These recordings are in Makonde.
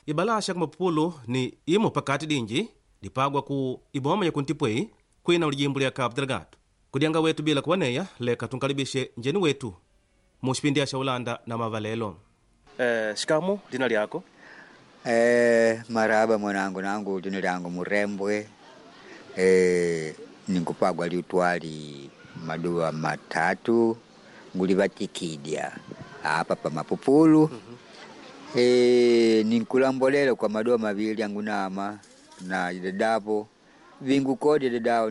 Ibalasha kumapupulu ni imo pakati dinji dipagwa ku iboma ya kuntipwei kwina ulijimbo lya Cabo Delgado. Kudyanga wetu bila kuwaneya leka tunkalibishe njeni wetu mu xipindi ya Ulanda na mavalelo. Shikamu lina lyako? Maraba mwanangu, nangu lina lyangu Murembwe. Ninkupagwa liutwali maduwa matatu ngulivatikidya apa pa Mapupulu. Ninkulambolela kwa maduwa mavili angunama na dadapo vingukodi dadao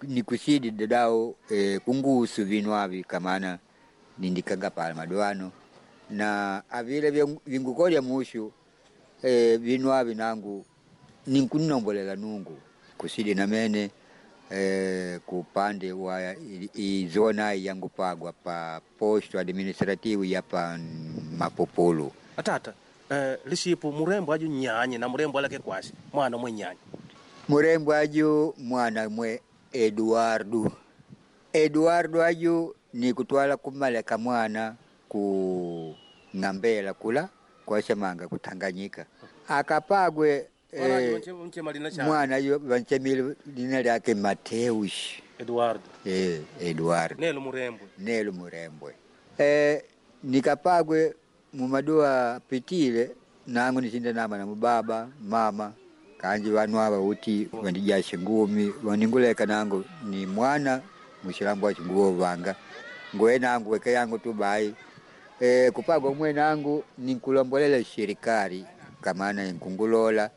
nikusidi dadao kungusu vinu avi kamana nindikanga pala maduano na avile vingukodya mushu vinu avi nangu ninkunombolela nungu kusidi namene kupande wa izona yangupagwa pa posto administrativo ya pa Mapupulu. Atata, lishipu murembo aju nyanye na murembo alake kwasi mwana mwe nyanye murembo aju mwana mwe Eduardo. Eduardo aju ni kutwala kumaleka mwana ku ng'ambela kula kwasemanga kutanganyika akapagwe mwana yu vanchemile lina lyake Mateus Eduardo. Eduardo nelo murembwe nelo murembwe nikapagwe mumaduwa pitile nangu nisinda nama na mubaba mama kanji vanu ava uti vandijashe ngumi vaninguleka nangu ni mwana mushilambo wa chinguvo vanga ngoe nangu weke yangu tu bai kupagwa mwe nangu ninkulombolela shirikari kamana nkungulola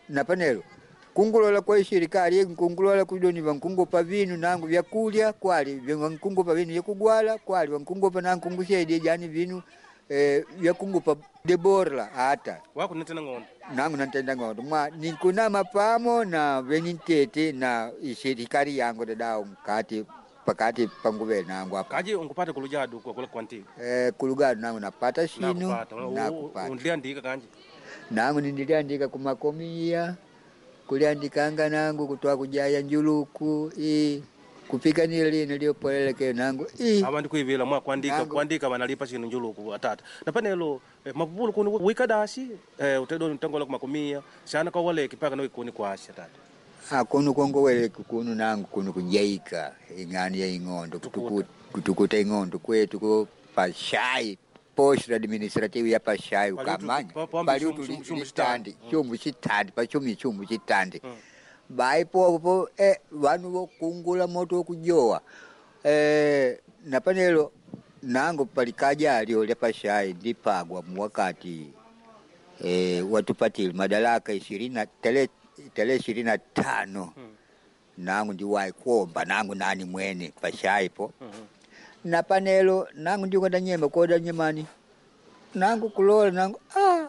na panelo kungulola kwa shirikari nkungulola kudoni vankungupa vinu nangu vyakulya kwali vankungupa vinu vyakugwala kwali vankungupa nangu kungusaidia jani vinu vyakungupa deborla hata wako nitena ng'ondo nangu nantenda ng'ondo mwa ninkunama pamo na venintete na ishirikari yangu dadao mkati pakati panguve nangu apa kaji ungupate kulujadu kwa kula kwanti kulugadu nangu napata shinu nakupata undiandika kanji nangu nindiliandika kumakomia kuliandikanga nangu kutwa kujaya njuluku i kupiganira lino liopoleleke nangu i ava ndikuivila mwa kuandika kuandika vanalipa shinu njuluku atata na panelo mapupulu kuni wikadasi utedo ntangola kumakumia shana kwa waleki paka no ikuni kwasi atata akunu kongoweleki kunu nangu kunu kujaika ing'ani ya ing'ondo kutukuta ing'ondo kwetu ko pashai posto administrative ya pashai ukamanya paliutu litandi chumbu chitandi pachumi chumbu chitandi bai popo vanu vokungula moto wokujowa na panelo nangu palikaja alio lya pashai ndipagwa muwakati watupatile madaraka ishirini tarehe 25 nangu ndiwayi kuomba nangu nani mwene pashaipo na panelo nangu ndikwenda nyemba koda nyemani nangu kulola nangu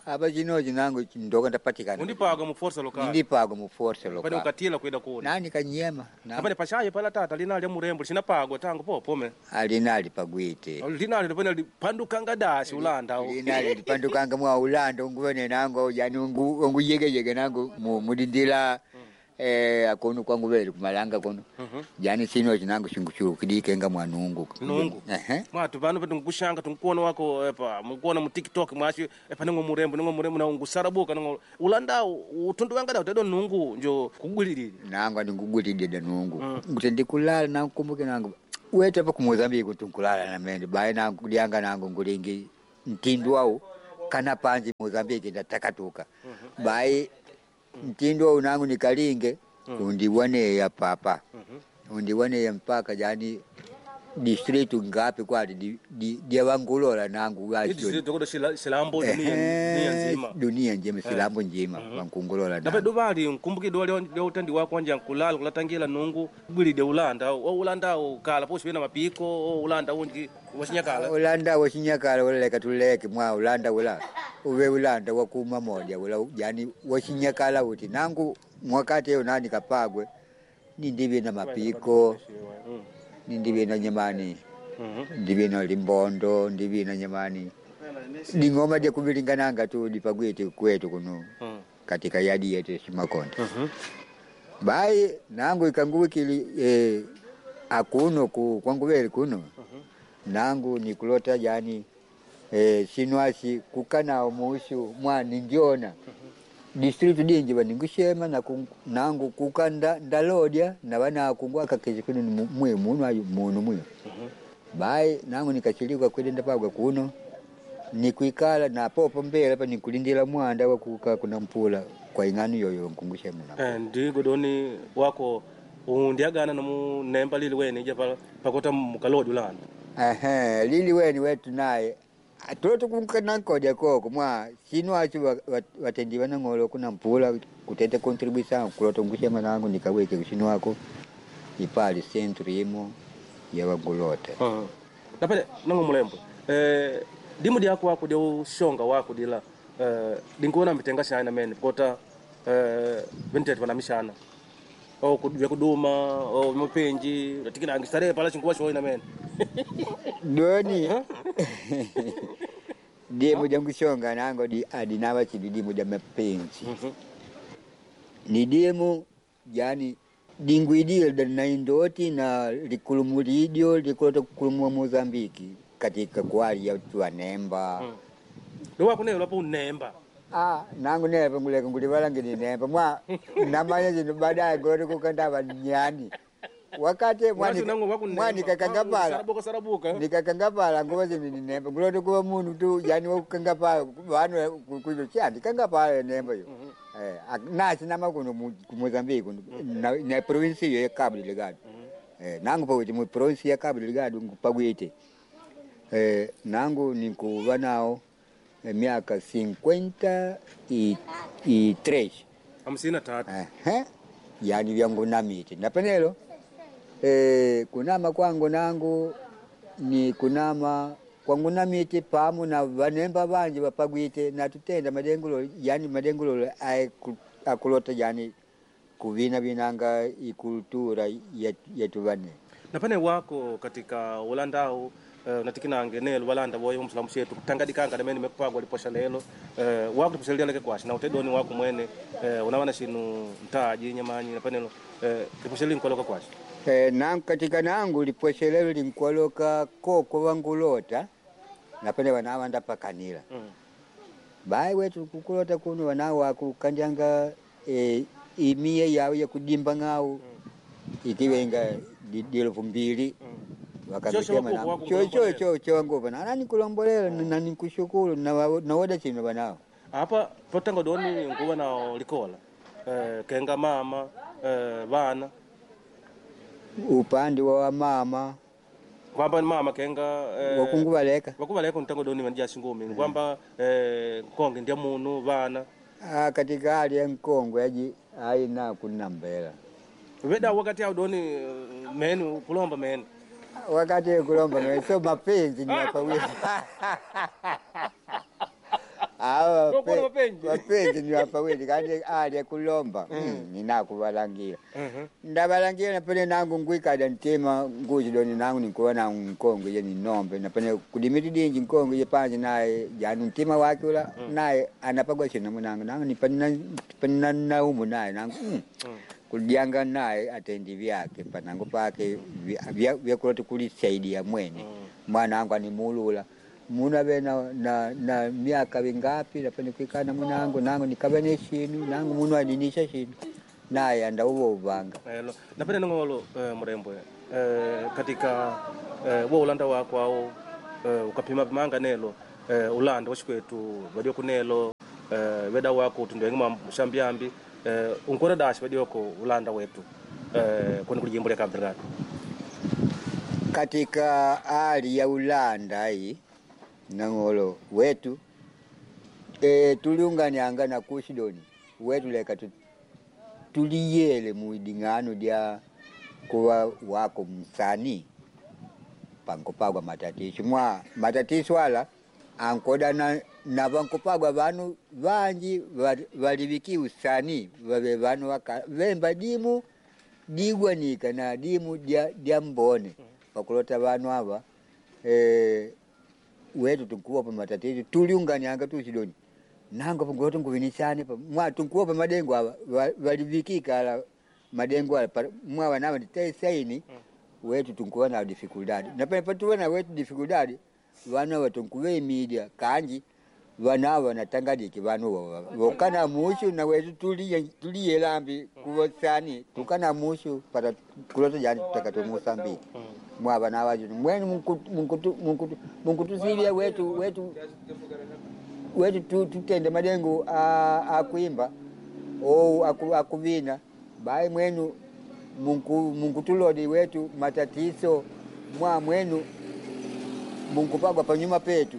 apa chinochi nangu ndoka ndapatikana undipaga mu força local ndipaga mu força local pane ukatila kwenda kuona nani kanyema apane pashaye pala tata linali ya murembo lishinapagwa tangu popome alinali pagwite linali lipane lipandukanga dasi ulanda linali lipandukanga mwa ulanda unguvene nangu yani unguyegeyege nangu mudindila akunu kwangu veli kumalanga kuno yani sino chinangu chinguchulukidikenga mwanungu nungu mwatu vanu vatungukushanga tunkuona wako epa mukuona mu TikTok mwashi epa ningo murembo ningo murembo na ungusarabuka ningo ulanda utundu wanga da utedo nungu njo kugulilile nangu andingugulilile nungu nguti ndikulala nangu nangu wete pa ku Mozambique tunkulala na mende bae nangu kudyanga nangu ngulingi mtindu wau kana panji Mozambique ndatakatuka bae mtindo wau nangu nikalinge undiwaneya papa undiwaneya mpaka jani district ngapi kwali dyawangulola nangu silambo dunia nzima dunia njima silambo njima wankungulola nape duvali nkumbuki duwa lyautendi wako wanja nkulala kulatangila nungu gwilide ulanda ulanda ukala posi na mapiko ulanda unji wasinyakala ulanda wasinyakala ulaleka tuleke mwa ulanda ula uve ulanda wakuma moja ula yani wasinyakala uti nangu mwakati yo nani kapagwe nindive na mapiko nindive na nyamani ndive na limbondo ndive na nyamani ning'oma dyakuvilingananga tu dipagwite kwetu kuno katika yadi yetu Shimakonde bai nangu ikanguwikili akuno ku kwanguveli kuno nangu nikulota jani Sinwasi kukanao muushu mwa ningiona distritu dinji vaningushema na nangu kuka ndalodya na vana akakezi kuno ni mwe munu ayu munu mwe bai nangu nikachilika kwenda ndapagwa kuno nikuikala na popo mbele pa nikulindila mwanda wa kuka kuna mpula kwa ing'ano yoyo nkungushema na Ndigo doni wako undiagana nomu nemba lili weni ija pakota mukalodi ulanda. Ehe, lili weni wetu naye toto kunkanankodya koko mwa sinu acho watendiwa na ng'olo kuna mpula kutete contribution kulota ngushema nangu nikaweke kusinu wako ipali centro imo ya wangulota. Napene nangu mulembwe dimu dyako wako dya ushonga wako dila dinkuona mitenga shana mene pakota ventete vanamishana o vyakuduma o mapenji latikina angistarehe pala chinkuwa shoina mene. Doni dimu ja ngushonga nango di adinava chidi dimu ja mapenzi. Ni dimu yani dingwidile na indoti na likulumulidio likulota kukulumua Mozambiki katika kwali ya tuanemba. Ndo wako neyo lapo unemba. Ah, nangu nepa nguleka ngulivalangi ni nemba mwa namanya zino baadaye ngoti kukandava nyani wakati mwani kakangapala sarabuka sarabuka nikakangapala nguva zino ni nemba nguloti kuva munu tu yani wakukangapala vanu kuizo chandi kangapala nemba yo. Nasi nama kuno ku Mozambique kuno na provinsi iyo ya Cabo Delgado. Nangu pakuti mu provinsi ya Cabo Delgado pakwite nangu nikuva nao miaka 53. 53. Ehe, yani vyangu namite napenelo kunama kwangu nangu ni kunama kwangu namite pamu na vanemba vanji vapagwite natutenda madengulo yani madengulo akulota yani kuvina vinanga ikultura yetu vane. Napane wako katika ulandau natikinange nelo walanda voyo msulamu shetu kutangadikanga namene mekupagwa liposha lelo wako liposha leleke kwashi na utedoni wako mwene unawana shinu ntaji nyamanyi napanelo liposha linkoloka kwashi. Nangu katika nangu liposha lelo linkwaloka koko wangulota napene wanawa ndapakanila. Bai wetu kukulota kuno wanawa kukanjanga imie yawo yakudimba ng'awu ikiwenga 2000. Cho cho cho nguva na nani kulombolela na nikushukuru na naoda chino banao. Apa potanga doni nguva na likola kenga mama vana upande wa mama kwamba mama kenga wakunguvaleka wakuvaleka ntango doni vandia shingumi kwamba nkonge ndia munu vana. Katika hali ya nkongwe aji aina kunambela veda wakati au doni menu kulomba menu wakati kulomba menu so mapenzi ni wapawili. Awa mapenzi ni wapawili kandi ali kulomba ninakuvalangira ndavalangira napene nangu ngwikada ntima nguzi doni nangu nikuwa na nkongwe ye ninombe napene kudimiti dinji nkongwe ye panji naye janu ntima wake ula naye anapagwa chino munangu nangu nipanina naumu naye nangu kudyanga naye atendi vyake panangu pake vyakuloti kulisaidia mwene mwanangu animulula munu ave na miaka vingapi napene kuikana munangu nangu nikave ne shinu nangu munu aninisha shinu naye andauva uvanga. Napene nongolo murembwe katika wo ulanda wako au ukapima pimanga nelo ulanda washikwetu vadioko nelo veda wako tundwengima mushambiambi unkora dashi vadioko ulanda wetu kuni kulijimbo lya Cabo Delgado. Katika hali ya ulanda hii nang'olo wetu tuliunganianga na kushidoni wetu leka tuliyele muiding'ano lya kuwa wako msani pankopagwa matatiso mwa matatiso ala ankoda na vankopagwa vanu vanji valiviki usani vave vanu vemba dimu digwanika na dimu dya mbone pakulota vanu ava wetu tunkuwa pa matatizo tuliunganianga tusidoni nango pangulota nguvinisane pa mwa tunkuwa pa madengo ava valivikika ala madengo ala mwa wanava nditaisaini wetu tunkuwa na dificuldade na pale patuwa na wetu dificuldade Vana vatunkuveimidia kanji vana vanatangadiki vanu vokana mushu na wetu tuliyelambi kuvosani tukana mushu para kulota jani tutakato Mosambiki mwa vana vacho mwenu munkutusivia wetu wetu wetu tutende madengo akuimba ou akuvina bai mwenu munkutulodi wetu matatizo mwa mwenu munkupagwa panyuma petu.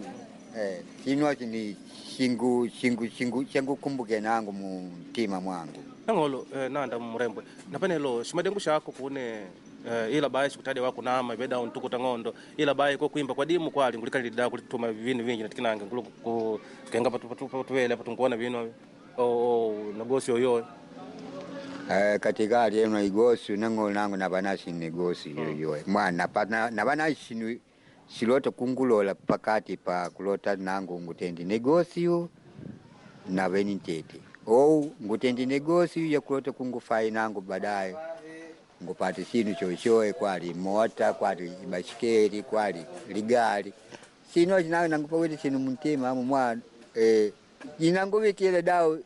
Chino ni shingu shingu shingu shangu kumbuke nangu mtima mwangu nangolo nanda murembwe napanelo shimadengu shako kune ila bayi sikutade wako nama ibeda untukuta ng'ondo ila bayi ko kuimba kwa dimu kwali ngulikalida kulituma vinu vingi natikinange ngulu ku kenga patu patu patu patu vinu o nagosi oyo. Katika hali eno igosi nangolo nangu navanasi negosi yoyo mwana navanasi silota kungulola pakati pa kulota nangu ngutendi negosio naveni ntete ou ngutendi negosio ya kulota kungufai nangu baadaye ngupate sinu chochoe kwali mota kwali ibashikeli kwali ligali sino chinango nangupawete sinu muntima amu mwa inanguvikile dao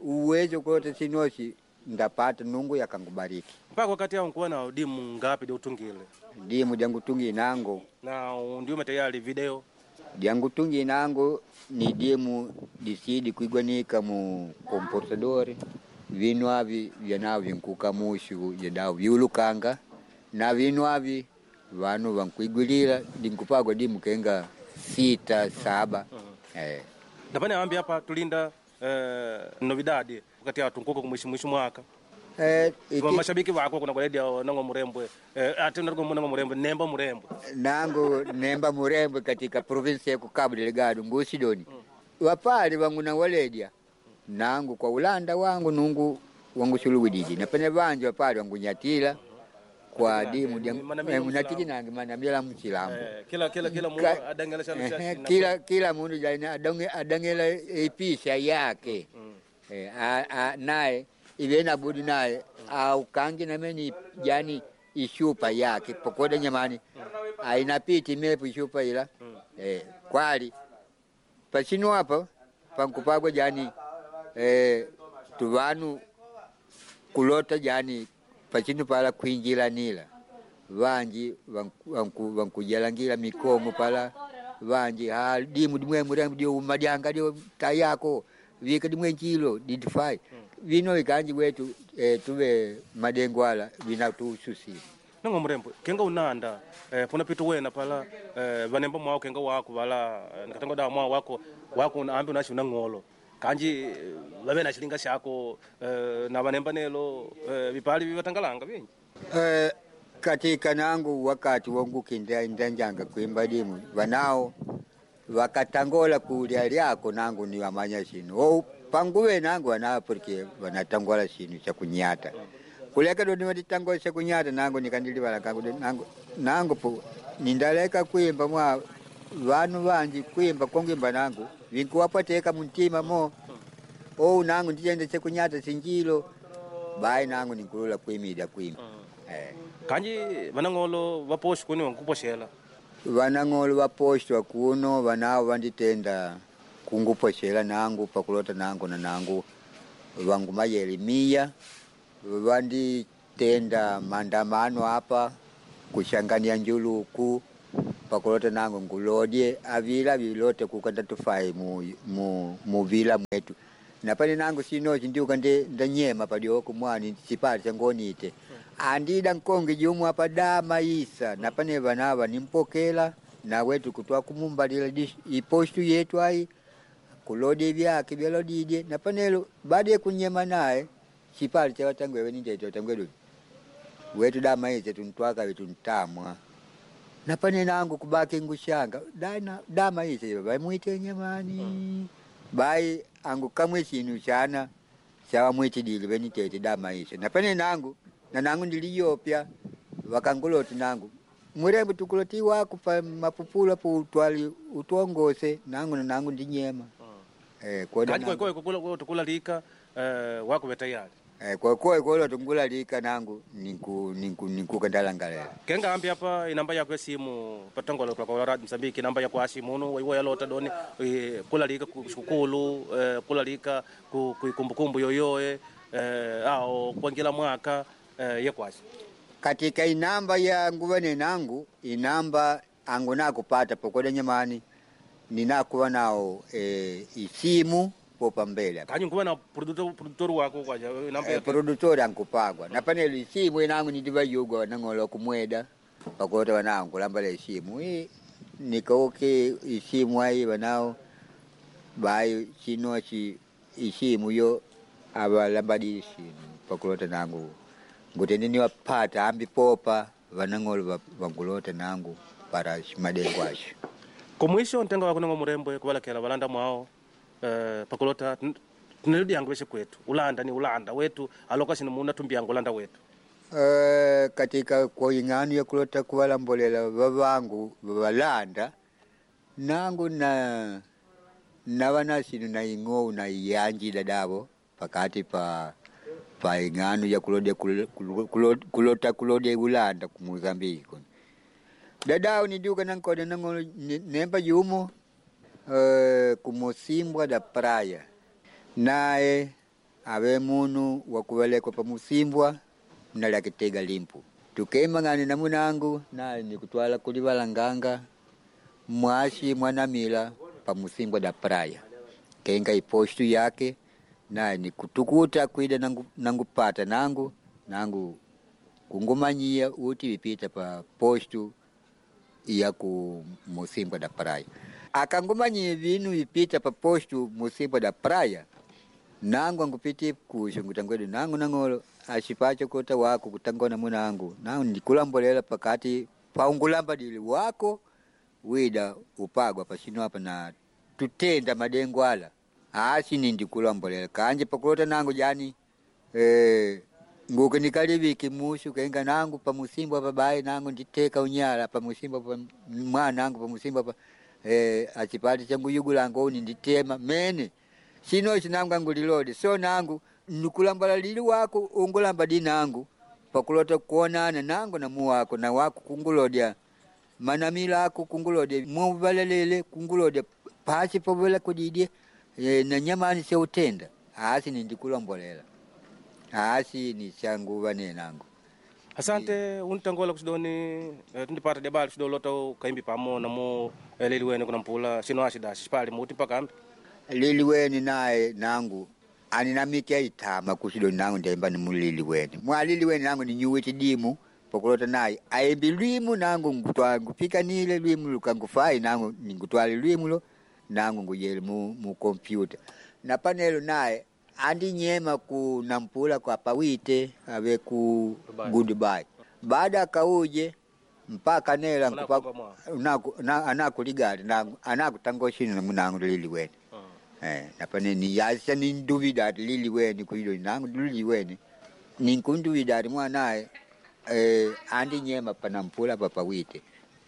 uwezo kulota sinochi ndapata nungu yakangubariki mpaka wakati awo nkuwa na dimu ngapi diutungile dimu dyangutungi nango na ndiume tayari video dyangutungi nango ni dimu disidi kuigwanika mu comportador vinu avi vyanao vinkuka mushu yadao viulukanga na vinu avi vanu vankuigwilila dinkupagwa dimu kenga 6 7. Ndapane ambi hapa tulinda novidadi wakati awo tunkuka kumwishi mwaka. Mashabiki wako kuna kwaledi nango murembwe ati nango murembwe nemba murembwe nango nemba murembwe katika provinsi ya Cabo Delgado ngusidoni. Wapali wangu na waledia nangu kwa ulanda wangu nungu wangu suluwidiji napene vanji wapali wangu nyatila kwa dimu munatiki nange manamila mchilambo. Kila kila kila mundu adangela shalo kila kila mundu jaina adangela ipisha yake. Naye ive budi naye aukangi nameni yani ishupa yake pokoda nyamani ainapiti mepu ishupa ila. Kwali pachino hapa pankupagwa jani tuvanu kulota jani pachino pala kuinjilanila vanji vankujalangila mikomo pala vanji ha dimu dimwe murembo dio umadyanga dio tayako vika dimwe nchilo didifai vino ikanji wetu tuve madengwala vinatususi nango murembo kenga unanda puna pitu wena pala vanemba mwao kenga wako vala nikatango da mwao wako wako ambi unashi unang'olo kanji vave na chilinga shako na vanemba nelo vipali vivatangalanga vingi. Katika nangu wakati wangu kinda ndanjanga kuimba dimu vanao wakatangola kulya lyako nangu ni wamanya shinu ou panguwe nangu wanao porque wanatangola shinu cha kunyata kuleka do niwatitangola cha kunyata nangu nikandiliwala kangu nangu nangu po nindaleka kuimba mwa vanu vanji kuimba kongimba nangu vinkuwapateka muntima mo ou nangu ndichende chekunyata sinjilo bai nangu ninkulula kuimida kuimba. Kanji vanang'olo vaposhi kuni wankuposhela vanang'olo vaposhwa kuno vanao vanditenda kunguposhela nangu pakulota nangu na nangu vangu mayelimiya vanditenda maandamano apa kushangania njuluku pakulota nangu ngulodye avila vilote kukanda tufai mu vila mwetu napane nangu sinochi ndiuka ndanyema padioko mwani chipali changonite andida nkonge jumwe apa dama isa napane vanava nimpokela na wetu kutwa kumumbalila ipostu yetu ai kulodye vyake vyalodidye napanelo baada kunyema naye chipali chavatangwewe nindete watangwedu wetu dama isa tuntwaka wetuntamwa napane nangu kubaki ngushanga dana dama isa vaimwite nyamani bai angu kamwe chinu chana chawamwitidile venitete dama isa napane nangu na nangu ndiliyopya wakanguloti nangu murembo tukuloti wako pa mapupula po utwali utwongose nangu na nangu ndinyema. Koda nangu tukula lika wako betayari. Kwa kwa kolo tungulalika nangu ninku kandalangalela kenga ambi apa inamba yako ya simu patangola kwa Radio Msambiki namba yako ashi muno waiwa yalota doni kulalika kushukulu kulalika ku kumbukumbu yoyoe ao kuangila mwaka yekwasi katika inamba ya nguvane nangu inamba angu nakupata pokoda nyamani ninakuwa nao isimu popa mbele kanyu nguva na produtor wako kwaja namba produtor ankupagwa na panelo isimu inangu nidivayugwa nang'olo kumweda pakulota wanangu kulambala isimu i nikauke isimu ayi wanao bayi chinochi isimu yo avalambadisi pakulota nangu ngutende niwapata ambi popa vanang'olo vangulota nangu para madengo asho kumwisho ntenga wako nango murembwe kuvalakela valanda mwao pakulota tuneludi veshe kwetu ulanda ni ulanda wetu aloka shino muna tumbiyangu ulanda wetu katika kwa ing'ano ya kulota kuvalambolela vavangu valanda nangu na navanasinu na ing'ou na iyanjila davo pakati pa ing'ano ya kulodya kulota kulodya ulanda ku Mozambiki kuno dadao nidiuka nankoda nang'olo nemba yumo kumusimbwa da praia naye ave munu wakuvelekwa pamusimbwa nalakitega limpu tukemang'ane na munangu naye nikutwala kulivalanganga mwashi mwanamila pamusimbwa da praia kenga ipostu yake naye nikutukuta kwida nangupata nangu nangu kungumanyia uti vipita pa postu ya ku musimbwa da praia akangumanyia vinu vipita pa postu musimbwa da praia nangu angupiti kusho ngutangwedu nangu nang'olo ashipacho kota wako kutangona munangu nangu ndikulambolela pakati paungulamba dili wako wida upagwa pasino apa na tutenda madengo ala asi nindikulambolela kanje pakulota nangu jani nguke nikaliviki mushu kenga nangu pamusimbo apa bayi nangu nditeka unyala pamusimbo apa mwanangu pamusimbo apa achipati changuyugulanga uni nditema mene chino chinangu angulilode so nangu nikulambala lili wako ungulamba di nangu pakulota kuonana nangu na muwako na wako kungulodya manamila ako kungulodya muvalelele kungulodya pasi povela kudidye na nyamani seutenda asi nindikulombolela asi ni changuva nenangu asante untangola kusidoni tundipata debali kusidolota kaimbi pamo namo lili wene kuna mpula sino ashidasi shipali muti mpaka ambi lili weni naye nangu aninamike aitama kusidoni nangu ndemba ni mulili weni mwalili weni nangu ninyuwe chidimu pokulota naye aembi lwimu nangu ngupikanile lwimu lukangufai nangu ningutwale lwimulo nangu nguyele mu kompyuta na panelo naye andinyema ku nampula kwa pawite ave ku goodbye baada akauje mpaka nela anakuligala anakutangoshini munangu lili weni napane niyasa ninduvida ati lili weni kuilo nangu lili weni ninkunduvida ati mwanaye andinyema panampula papawite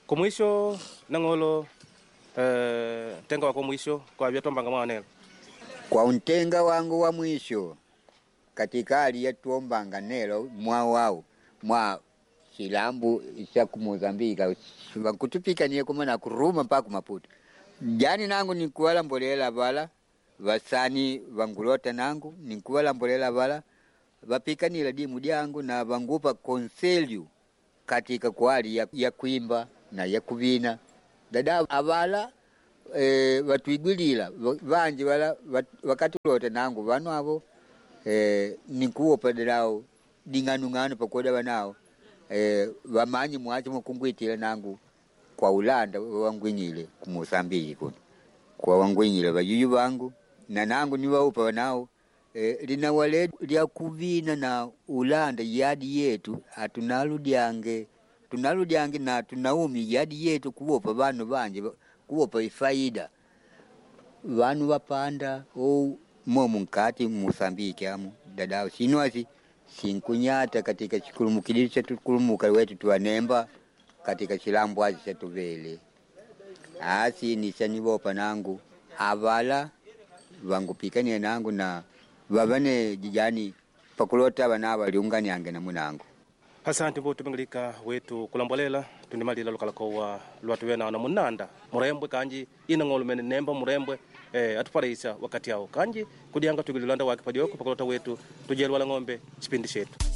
kumwisho nang'olo ntenga wako mwisho kwa vyatwambanga mwanelo kwa untenga wangu wa mwisho katika hali yatuombanga nelo mwa wao mwa chilambu cha kumozambika vankutupikanie kuma na kuruma mpaka kumaputo jani nangu nikuwalambolela vala vasani vangulota nangu nikuwalambolela vala vapikanila dimu dyangu na vangupa konselyu katika kwali ya kuimba na ya kuvina dada avala vatwigwilila vanji vala vakatulota nangu vanu avo nikuwopa dadao ding'anung'anu pakoda vanao vamanyi mwachi mukungwitila nangu kwa ulanda wangwinyile ku Mosambiki kuno kwa wangwinyile vayuyu vangu na nangu niwaupa vanao linawale lya kuvina na ulanda yadi yetu atunaludyange tunaludyange na tunaumi yadi yetu kuwopa vanu vanje kuwopa ifaida vanu vapanda ou momu nkati Mosambiki amu dadao sinwasi sinkunyata katika chikulumukilili chetukulumuka wetu tuwanemba katika chilambu achi chatuvele asi nichanivopa nangu avala vangupikanie nangu na vavane jijani Pakulota vana valiunganiange na munango. Asante mbutu pingilika wetu kulambolela tundimalila lukalakowa lwatuwe na munanda murembwe kanji inang'olo mene nemba murembwe atupalaisa wakati awo kanji kudianga tugililanda wake padioko pakulota wetu tujelwala ng'ombe chipindi chetu.